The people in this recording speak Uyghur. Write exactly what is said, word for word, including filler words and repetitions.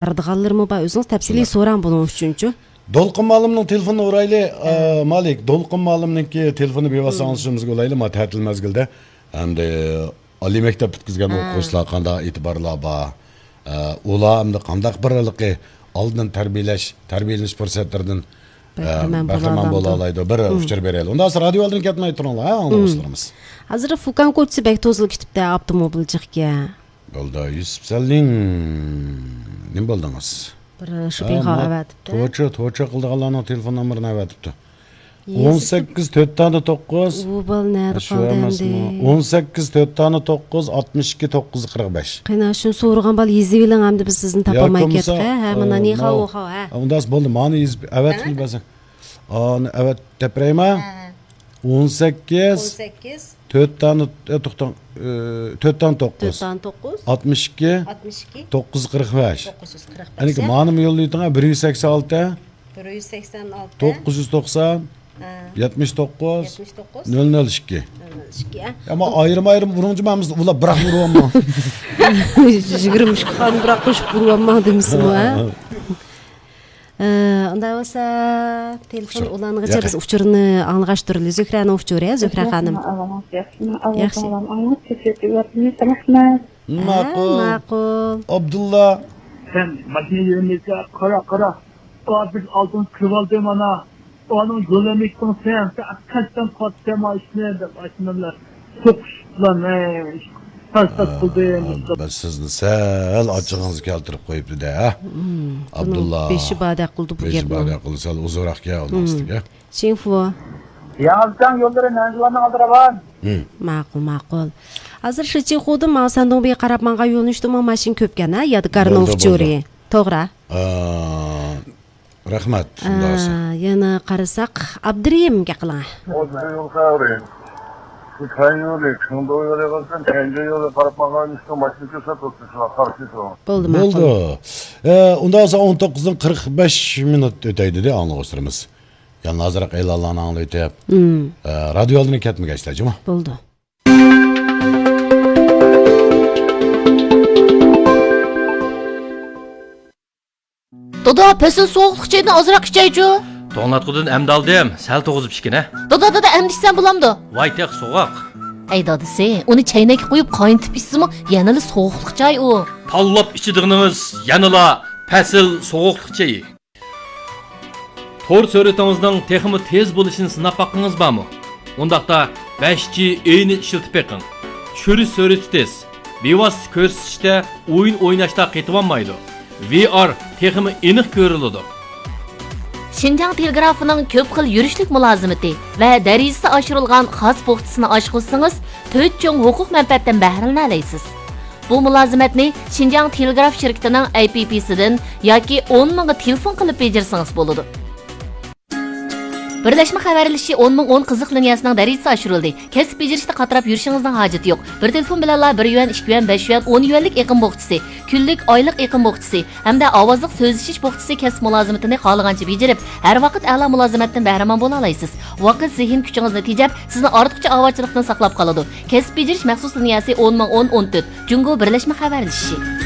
بارىدىغانلىرىمۇ بار. ئۆزىڭىز تەپسىلىي سوراڭ بۇنىڭ ئۈچۈنچۇ. دولقۇن مۇئەللىمنىڭ تېلېفونىنى ئۇرايلى، ئە، مالىك. دولقۇن مۇئەللىمنىڭكى تېلېفونىنى بىۋاسىتە ئاڭلىشىمىزغا ئۇلايلى، ما تەتىل مەزگىلدە. ئەمدى ئالىي مەكتەپ پۈتكۈزگەن ئوقۇغۇچىلار قانداق ئېتىبارلار بار؟ ئە، ئۇلار ئەمدى قانداق بىر ھېلىقى ئالدىن تەربىيەلەش، تەربىيەلىنىش پۇرسەتلىرىدىن، ئە، بەھرىمەن بەھرىمەن بولالايدۇ؟ بىر ئۇچۇر بېرەيلى. ئۇنداق بولسا رادىيو ئالدىدىن كەتمەي تۇرۇڭلار، ھە، ئاڭلىغۇچىلىرىمىز. ھازىر فۇكان كوچىسى بەك توزۇلۇپ كېتىپتۇ، ئاپتوموبىل جىقكەن. بولدى، يۈسۈپ سەللىڭ. نېمە بولدىڭىز؟ بىر شوپىڭغا ئەۋەتىپتۇ. توچا، توچا قىلىدىغانلارنىڭ تېلېفون نومۇرىنى ئەۋەتىپتۇ. ئون سەككىز تۆت دانە توققۇز. ئۇ بالا نەدە قالدى ئەمدى؟ ئون سەككىز تۆت دانە توققۇز، ئاتمىش ئىككى توققۇز يۈز قىرىق بەش. قېنى، شۇنى سورىغان بالا يېزىۋېلىڭ ئەمدى، بىز سىزنى تاپالماي كەتتۇق، ھە، ھە، مانا نىخاۋ، ھە. ئۇنداق بولدى، مانا يېزىپ ئەۋەتكىلى بەرسەڭ. ئانى ئەۋەت دەپ بېرەيما؟ ھە. ئون سەككىز. ئون سەككىز. تۆت دانە، ئە، توختاڭ، ئە، تۆت دانە توققۇز. تۆت دانە توققۇز. ئاتمىش ئىككى. ئاتمىش ئىككى. توققۇز يۈز قىرىق بەش. توققۇز يۈز قىرىق بەش، ئەنىكى ھە؟ مانىمۇ يوللايتىڭ، ھە، بىر يۈز سەكسەن ئالتە. بىر يۈز سەكسەن ئالتە. توققۇز يۈز توقسان. ھە. يەتمىش توققۇز. يەتمىش توققۇز. نۆل نۆل ئىككى. نۆل نۆل ئىككى، ھە؟ ئەمما ئايرىم-ئايرىم ئۇرۇڭچۇ، مەن بۇلار بىراق ئۇرۇۋالماڭ. يىگىرمە ئۈچ خان بىراق قوشۇپ ئۇرۇۋالماڭ دېمىسىمۇ، ھە؟ ئە، ئۇنداق بولسا، تېلېفون ئۇلانغىچە بىز ئۇچۇرنى ئاڭلىغاچ تۇرىلى. زۆھرەنىڭ ئۇچۇرى، ھە، زۆھرە خانىم. ياخشى. ماقۇل. ماقۇل. ئابدۇللا. سەن ماشىنا يۈرمەيسەن، قارا، قارا. ئا، بىز ئالدىن كىرىۋالدى مانا. ئانىڭ يولىمىكىڭ سەن، سەن قەستەن قاتتى ماشىنا دەپ ئاشۇنىڭ بىلەن سوقۇش بىلەن، ھەي، تاش-تاش قىلدى. بەس سىزنى سەل ئاچچىقىڭىزنى كەلتۈرۈپ قويۇپتۇ-دە، ھە؟ ئابدۇللا. بېشى باردەك قىلدى بۇ گەپنى. بېشى باردەك قىلدى، سەل ئۇزۇنراق گەپ ئۇنىڭ ئۈستىگە. شىنفۇ. ياڭزىچاڭ يوللىرى نەنجىۋاننىڭ ئالدىدا راۋان. ماقۇل، ماقۇل. ھازىر شىچىخۇدىن ماڭا سەندۇڭبىگە قاراپ ماڭغان يۆنىلىشتىمۇ ماشىنا كۆپكەن، ھە؟ يادىكارنىڭ ئۇچۇرى. توغرا. رەھمەت، شۇنداق بولسا. ئا، يەنە قارىساق، ئابدۇرېھىمگە قىلىڭ. ئابدۇرېھىم قارى. شۇ تەييۇنى، چىڭدۇ يولى قىلسۇن، تەييۇن يولى قاراپ ماڭغان ئىشقا ماشىنا كۆرسە توختىسىلا، قارشى تۇرۇڭ. بولدى، ماقۇل. بولدى. ئە، ئۇنداق بولسا ئون توققۇزدىن قىرىق بەش مىنۇت ئۆتەي دېدى ئاڭلىغۇچىلىرىمىز. يەنە ئازراق ئېلانلارنى ئاڭلىۋېتىپ، ئە، رادىيو ئالدىنى كەتمىگەيسىلەر، جۇمۇ. بولدى. دادا، پەسىل سوغۇقلۇق چايدىن ئازراق ئىچەيچۇ. توڭلاتقۇدىن ئەمدى ئالدىم، سەل توغۇزۇپ ئىچكىنە. دادا، دادا، ئەمدى ئىچسەم بولامدۇ؟ ۋاي تېخى سوغۇق. ئەي دادىسى، ئۇنى چەينەككە قۇيۇپ قاينىتىپ ئىچسىمۇ يەنىلا سوغۇقلۇق چاي ئۇ. تاللاپ ئىچىدىغىنىڭىز يەنىلا پەسىل سوغۇقلۇق چېيى. تور سۈرئىتىڭىزنىڭ تېخىمۇ تېز بولۇشىنى سىناپ باققىڭىز بارمۇ؟ ئۇنداقتا بەش جى ئېينى ئىشلىتىپ بېقىڭ. چۈشۈرۈش سۈرئىتى تېز، بىۋاسىتە كۆرسىتىشتە ئويۇن ئويناشتا قېتىۋالمايدۇ. ۋى ئار تېخىمۇ ئېنىق كۆرۈلىدۇ. شىنجاڭ تېلېگرافىنىڭ كۆپ خىل يۈرۈشلۈك مۇلازىمىتى ۋە دەرىجىسى ئاشۇرۇلغان خاس پوختىسىنى ئاشقۇزسىڭىز، تۆت چوڭ ھوقۇق مەنپەئەتتىن بەھرىلىنەلەيسىز. بۇ مۇلازىمەتنى شىنجاڭ تېلېگراف شىركىتىنىڭ ئەي پى پىسىدىن ياكى ئون مىڭغا تېلېفون قىلىپ بېجىرسىڭىز بولىدۇ. بىرلەشمە خەۋەرلىشىشى ئون مىڭ ئون قىزىق لىنىيەسىنىڭ دەرىجىسى ئاشۇرۇلدى. كەسىپ بېجىرىشتە قاتراپ يۈرۈشىڭىزنىڭ ھاجىتى يوق. بىر تېلېفون بىلەنلا بىر يۈەن، ئىككى يۈەن، بەش يۈەن، ئون يۈەنلىك ئېقىم بوخچىسى، كۈنلۈك، ئايلىق ئېقىم بوخچىسى ھەمدە ئاۋازلىق سۆزلىشىش بوخچىسى كەسىپ مۇلازىمىتىنى خالىغانچە بېجىرىپ، ھەر ۋاقىت ئەلا مۇلازىمەتتىن بەھرىمەن بولالايسىز. ۋاقىت، زېھىن كۈچىڭىزنى تېجەپ، سىزنى ئارتۇقچە ئاۋارىچىلىقتىن ساقلاپ قالىدۇ. كەسىپ بېجىرىش مەخسۇس لىنىيەسى ئون مىڭ ئون ئون تۆت، جۇڭگو بىرلەشمە خەۋەرلىشىشى.